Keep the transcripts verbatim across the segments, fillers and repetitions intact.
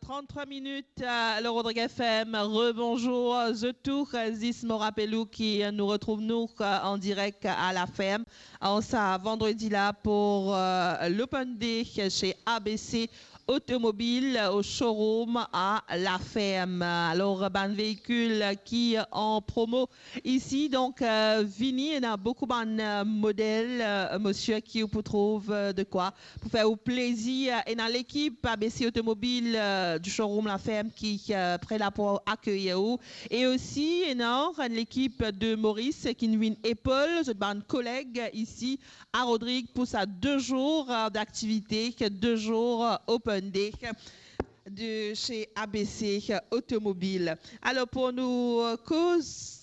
Trente-trois minutes, euh, le Rodrigue F M. Rebonjour, euh, zot tou. Euh, zis mo rapel ou ki, euh, nou retrouv nou, euh, an direk a La Ferme, an sa vandredi la pou, euh, l'Open Day chez A B C Automobile au showroom à La Ferme. Alor, bann veikil ki an promo isi, donk, euh, vini, ena boukou bann, euh, model, euh, mosieur, ki ou pou trouv, euh, de kwa pou fer ou plezir. Ena lekip A B C Automobile, euh, du showroom La Ferme ki, euh, pre la pou akeyir ou. E osi, ena enn lekip de Moris ki vinn epol zot bann koleg isi a Rodrig pou sa de zour, euh, d'aktivite, de zour, euh, Open Day de chez A B C Automobile. Alor, pou nou, euh, koz,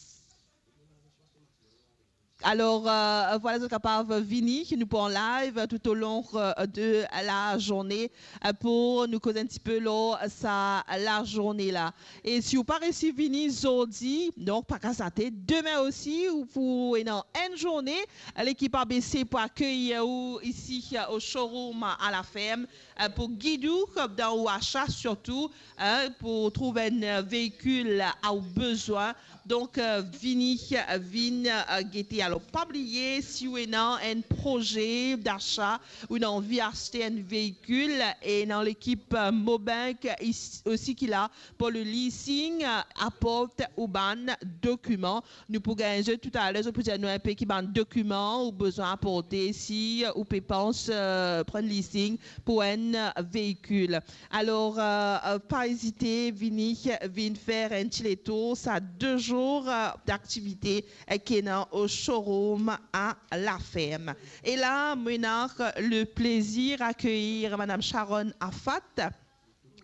alor, euh, vwala, zot kapav vini, ki nou pou an live tout au long, euh, de la journée, euh, pou nou koz enn tipe lor sa lazourne la. E si ou pa resi vini zordi, donk pa kas latet, demin osi ou pou ena enn zourne, lekip A B C pou akeyir ou isi, euh, au showroom à La Ferme, euh, pou gid ou dan ou asa, sirtou, euh, pou trouv enn, euh, veikil, euh, a ou bezwin. Donk, euh, vini, euh, vinn, euh, gete. Alor, pa bliye, si ou ena enn proze d'asa, ou ena anvi aste enn veikil, ena lekip, euh, Mobank is-, osi ki la pou le leasing, euh, aport ou bann dokiman. Nou pou gagn zot toutaler, zot pou dir nou enpe ki bann dokiman ou bezwin aporte si ou pe pans, euh, pran leasing pou enn veikil. Alor, euh, euh, pa ezite, vini, vinn fer enn ti letour sa de zour, euh, d'aktivite, euh, ki ena au showroom à La Ferme. E la, mo ena le plezir akeyir Madame Sharon Afat,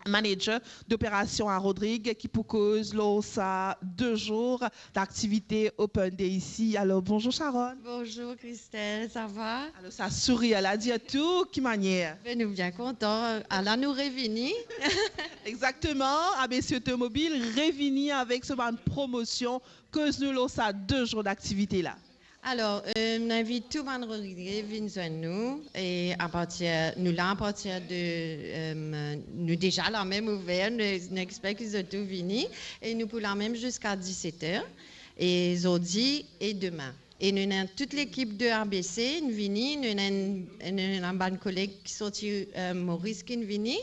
manager d'opération à Rodrig, ki pou koz lor sa de zour d'aktivite Open Day isi. Alor, bonzour Sharon. Bonzour Christelle, ça va? Alor, sa sourir la dir tou, ki manier? Ben, nou bien kontan. Ala nou revini. Exakteman, A B C Automobile revini avek so bann promosion. Koz nou lor sa de zour d'aktivite la. Alor, euh, nou invit tou bann Rodrigez vinn zwenn nou, e apartir, nou la apartir de, euh, nou deza la mem ouver, nou, nou exper ki zot tou vini, e nou pou la mem ziska diset er, e zordi e demin. E nou ena tout lekip de A B C, nou vini, nou ena enn, nou ena bann koleg ki sorti, euh, Moris ki vini,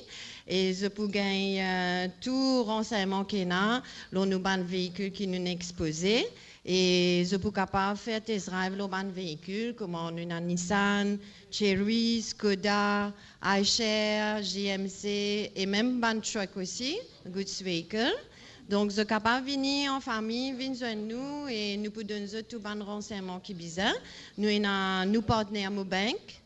e zot pou gagn, euh, tou ransegnman ki ena lor nou bann veikil ki nou expoze. E zot pou kapav fer test drive lor bann veikil, kouma nou ena Nissan, Chery, Skoda, Eicher, G M C, e mem bann truck osi, goods vehicle. Donk, zot kapav vini an fami, vinn zwenn nou, e nou pou donn zot tou bann ransegnman ki bizin. Nou ena nou partner Mobank,